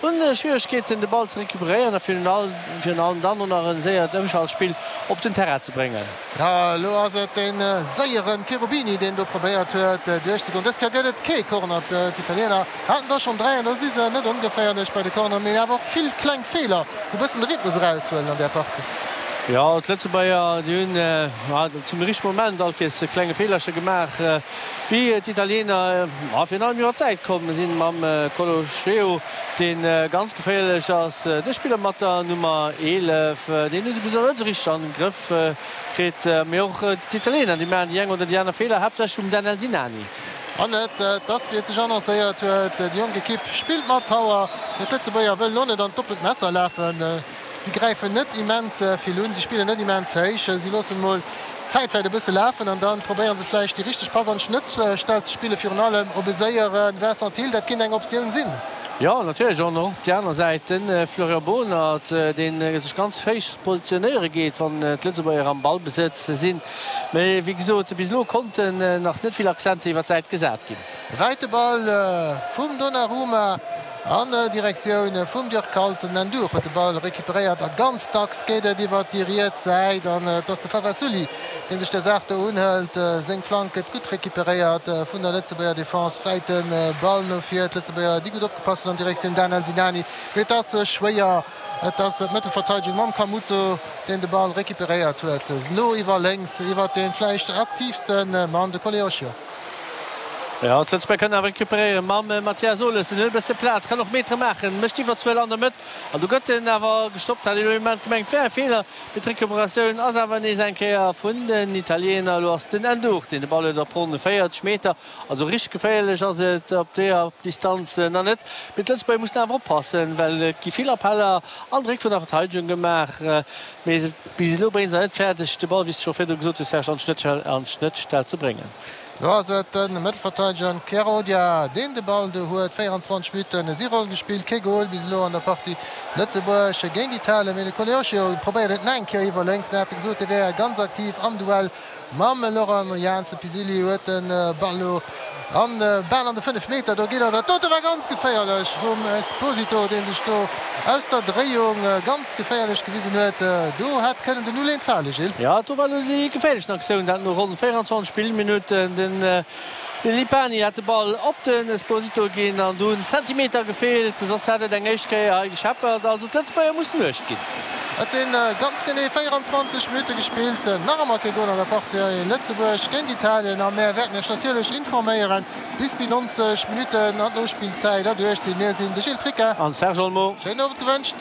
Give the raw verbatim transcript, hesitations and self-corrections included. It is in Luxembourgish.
Hunn Schwieregkeeten de Ball ze recuperéieren a virun allem dann och nach e séiert Ëmschaltspill op den Terrain ze bréngen. Jo, elo ass et de séiere Cherubini, deen do probéiert huet duerchzegoen. Dës Kéier gëtt et kee Corner. D'Italiener haten der schonn dräi an da si se net ongeféierlech bei de Corneren, mee awer och vill kleng Feeler, déi e bëssen de Rhythmus eraushuelen an där Partie. Jo, d'Lëtzebuerger, déi hunn zum richtege Moment all Kees e klenge Feelerche gemaach, wéi d'Italiener virun allem iwwer d'Säit komm sinn mam Colocheo, dee ganz geféierlech ass. De Spiller mat der Nummer eelef, deen hu se bis elo net esou richteg an de Grëff kritt. Mee och d'Italiener, déi maachen déi eng oder déi aner Feeler, haaptsächlech um Danel Sinani. An et ass, wéi et sech annoncéiert huet, déi jonk Ekipp spillt mat Power, mee d'Lëtzebuerger wëllen och net an d'oppent Messer lafen. Si gräifen net immens vill un, si spillen net immens héich, si loossen emol d'Zäit vläicht e bësse lafen an da probéiere se vläicht déi richteg Pass an d'Schnëttstell ze spillen, virun allem op e séiere Vincent Thill. Dat kéint eng Optioun sinn. Jo, natierlech. An och op déi aner Säit de Florian Bohnert, dee sech ganz héich positionéiere geet, wann d'Lëtzebuerger am Ballbesëtz sinn. Mee wéi gesot, bis elo konnten nach net vill Accenter iwwer d'Säit gesat ginn. Wäite Ball vum Donnarumma An Direktioun vum Dirk Carlson. Den Ndour huet de Ball recuperéiert a ganz dacks geet et iwwert déi riets Säit an et ass de Favasuli, dee sech der Saach do unhëlt. Seng Flank gëtt gutt recuperéiert vun der Lëtzebuerger Defense. Wäite Ball no vir. D'Lëtzebuerger, déi gutt opgepasst hunn an Direktioun Daniel Sinani. Mee et ass schwéier. Et ass d'Mëttelverteidegung mam Camusso, deen de Ball recuperéiert huet. Elo iwwer lénks, iwwert dee vläicht aktiivste Mann, de Koleosho. Jo, d'Lëtzebuerger kënnen awer recuperéieren mam Mathias Olesen. Huet e bësse Plaz, kann och Metere maachen, mécht d'Iwwerzuel an der Mëtt an do gëtt en awer gestoppt. Hat een elo Moment gemengt, wär e Feeler, mee d'Recuperatioun ass awer nees eng Kéier vun den Italiener. Elo ass den Ndour, deen de Ball huet op ronn véierzeg Meter. Also richteg geféierlech ass et op deeër Distanz nach net, mee d'Lëtzebuerger mussen awer oppassen, well et gi vill Appeller an Dréck vun der Verteidegung gemaach. Mee bis elo brénge se net fäerdeg, de Ball, wéi s de scho virdru gesot hues, Serge, an d'Schnëttstell ze bréngen. Do ass et de Mëttelverteideger Chiarodia, deen de Ball do huet. véierundzwanzeg Minutten si ronn gespillt, kee Gol bis elo an der Partie Lëtzebuerg géint Italien. Mee de Koleosho probéiert et nach eng Kéier iwwer lénks. Mir hate gesot, hie wär ganz aktiv am Duell mam Laurent Jans. De Pisilli huet de Ball elo an bal an de fënnef Meter. Do geet er. Dat dote war ganz geféierlech vum Esposito, dee sech do aus der Dréiung ganz geféierlech gewisen huet. Do hätt kënnen den Null eent fale, Gilles. Jo, do war elo déi geféierlechsten Aktioun, dat no ronn véierundzwanzeg Spillminutten. De Lipani hat de Ball op den Esposito ginn an do hunn Zentimeter gefeelt, soss hätt et eng éischt Kéier hei gescheppert. Also d'Lëtzebuerger mussen uecht ginn. Et si ganz genee véierundzwanzeg Minutte gespillt, nach ëmmer kee Gol an der Partie Lëtzebuerg géint Italien a mär wäerten Iech natierlech informéieren, bis déi nonzeg Minutten an d'Nospillzäit erduerch sinn. Mir sinn de Gilles Tricca an Serge Olmo. Schéinen Owend gewënscht.